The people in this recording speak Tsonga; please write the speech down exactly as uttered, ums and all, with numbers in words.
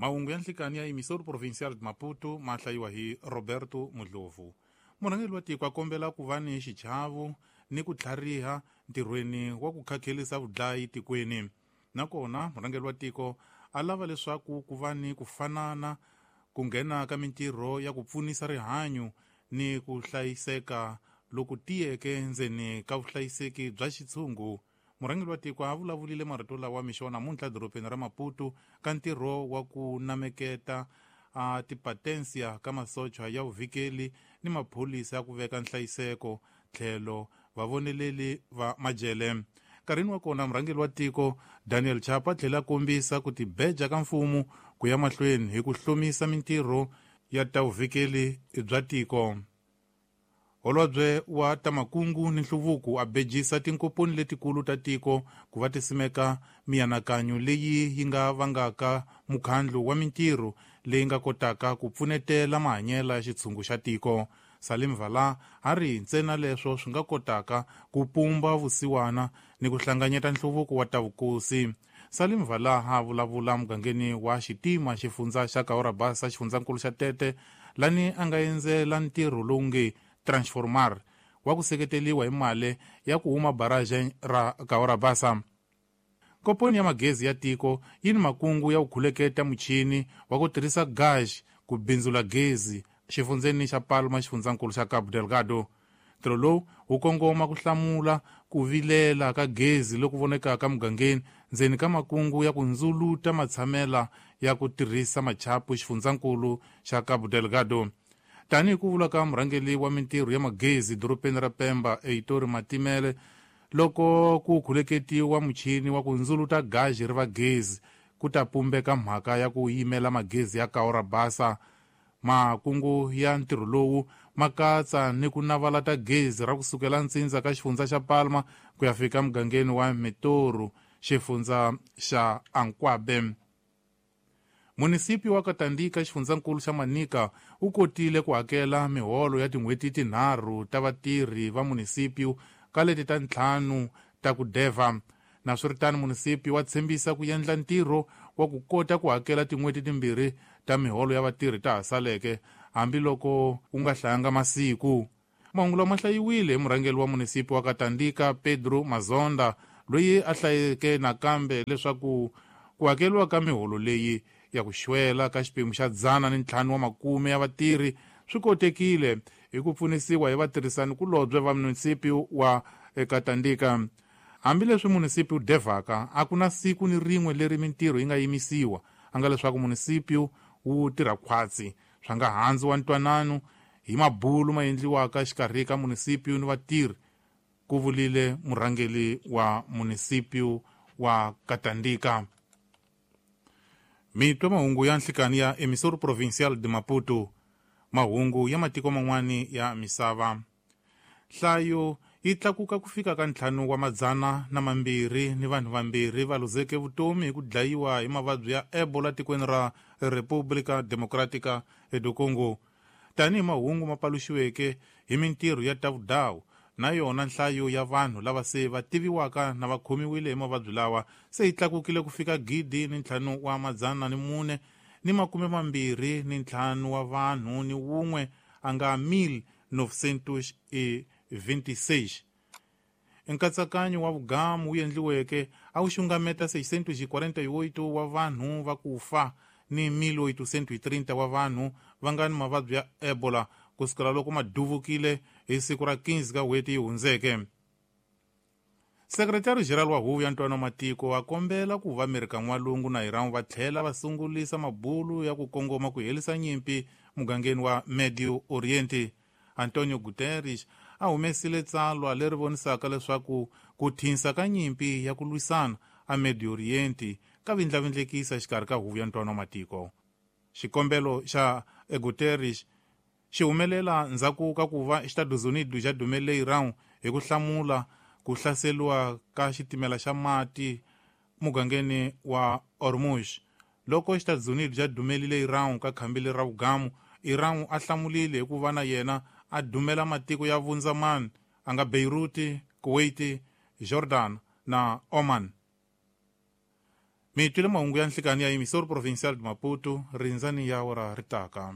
Mahungu ya nhlikani ya Emissor Provincial de Maputo ma hlayiwa hi Roberto Mudlovu. Murhangeri wa tiko a kombela ku va ni xichavo ni ku tlhariha ntirhweni wa ku khakhelisa vudlayi tikweni. Nakona murhangeri wa tiko a lava leswaku ku va ni ku fanana ku nghena ka mintirho ya ku pfunisa rihanyo ni ku hlayiseka loku tiyeke ndzeni ka vuhlayiseki bya xitshungu. Murhangeri wa tiko a vulavulile marito lawa mixo wa namuntlha dorobeni ra Maputo ka ntirho wa ku nameketa a tipatensia ka masocha ya vuvikeli ni maphorisa ya ku veka nhlayiseko tlhelo vavoneleli va majele. Nkarhini wa kona murhangeri wa tiko Daniel Chapo a tlhela a kombisa ku tibeja ka mfumo ku ya mahlweni hi ku hlomisa mintirho ya ta vuvikeli bya tiko. Holobye wa ta makungu ni nhluvuko a bejisa tinkomponi letikulu ta tiko ku va ti simeka mianakanyo leyi yi nga vangaka mukhandlu wa mintirho leyi nga kotaka ku pfunetela mahanyelo ya xitshungu xa tiko. Salim Vala a ri ntsena leswo swi nga kotaka ku pumba vusiwana ni ku hlanganyeta nhluvuko wa ta vukosi. Salim Vala a vulavula mugangeni wa Xitima xifundza xa Kaorabasa xifundzankulu xa Tete lani a nga endzela ntirho lowu nge Transformar wa ku seketeliwa hi mali ya ku huma barrage ra Kaorabasa. Komponi ya magezi ya tiko yi ni makungu ya ku khuleketa muchini wa ku tirhisa gas ku bindzula gezi xifundzeni xa Palma xifundzankulu xa Cabo Delgado. Ntirho lowu wu kongoma ku hlamula ku vilela ka gezi loku vonekaka mugangeni ndzeni ka makungu ya ku ndzuluta matshamela ya ku tirhisa machapu xifundzankulu xa Cabo Delgado. Tanihi ku vula ka murhangeri wa mintirho ya magezi dorobeni ra Pemba Heitor Matimele, loko ku khuleketiwa muchini wa ku ndzuluta gazi ri va gezi ku ta pumbeka mhaka ya ku yimela magezi ya Kaorabasa. Makungu ya ntirho lowu ma katsa ni ku navala ta gezi ra kusukela ntsindza ka xifundza xa Palma ku ya fika mugangeni wa Mitoru xifundza xa Ankwabe. Munisipi wa Katandika xifundzankulu xa Manica wu kotile ku hakela miholo ya tin'hweti tinharhu ta vatirhi va munisipi ka leti ta ntlhanu ta ku deva. Naswiritano munisipi wa tshembisa ku endla ntirho wa ku kota ku hakela tin'hweti timbirhi ta miholo ya vatirhi ta ha saleke hambiloko wu nga hlayanga masiku. Mahungu lama hlayiwile hi murhangeri wa munisipi wa Katandika Pedro Mazonda loyi a hlayeke nakambe leswaku ku hakeriwa ka miholo leyi ya ku xwela ka xiphemu xa dzana ni ntlhanu wa makume ya vatirhi swi kotekile hi ku pfunisiwa hi vatirhisani kulobye va munisipi wa Katandika. Hambileswi munisipi wu devhaka a ku na siku ni rin'we leri mintirho yi nga yimisiwa, a nga leswaku munisipi wu tirha khwatsi swa nga handzi wa ntwanano hi mabulu ma endliwaka xikarhi ka munisipi ni vatirhi, ku vulile murhangeri wa munisipi wa Katandika. Mitwa mahungu ya nhlikani ya Emissor Provincial de Maputo, mahungu ya matiko man'wani ya misava. Nhlayo yi tlakuka ku fika ka ntlhanu wa madzana na mambirhi ni vanhu vambirhi va luzeke vutomi hi ku dlayiwa hi mavabyi ya Ebola tikweni ra República Democrática do Congo. Tanihi mahungu ma paluxiweke hi mintirho ya ta vudawu, na yona nhlayo ya vanhu lava se va tiviwaka na va khomiwile hi mavabyi lawa se yi tlakukile ku fika gidi ni ntlhanu wa madzana ni mune ni makume mambirhi ni ntlhanu wa vanhu ni wun'we a nga mil novecentos e vinte e seis. Nkatsakanyo wa vugamu wu endliweke a wu xungameta seiscentos e quarenta e oito wa vanhu va ku fa ni mil oitocentos e trinta wa vanhu va nga ni mavabyi ya Ebola kusukela loko ma duvukile hi siku ra quinze ka n'hweti yi hundzeke. Sekretari General wa Huvo ya Ntwanano wa Matiko a kombela ku va Amerika N'walungu na Iran va tlhela va sungulisa mabulu ya ku kongoma ku herisa nyimpi mugangeni wa Medio Oriente. Antonio Guterres a humesile tsalwa leri vonisaka leswaku ku thinsa ka nyimpi ya ku lwisana a Medio Oriente ka vindlavindlekisa xikarhi ka Huvo ya Ntwanano wa Matiko. Xikombelo xa Guterres xi humelela ndzhaku ka ku va Estados Unidos xa dumele Iran hi ku hlamula ku hlaseriwa ka xitimela xa mati mugangeni wa Hormuz. Loko Estados Unidos xa dumelile Iran ka khambi ra vugamu, Iran a hlamulile hi ku va na yena a dumela matiko ya vundzamani a nga Beirut, Kuwait, Jordan na Oman. Mi twile mahungu ya nhlikani ya Emissor Provincial de Maputo, rindzani ya awara ri taka.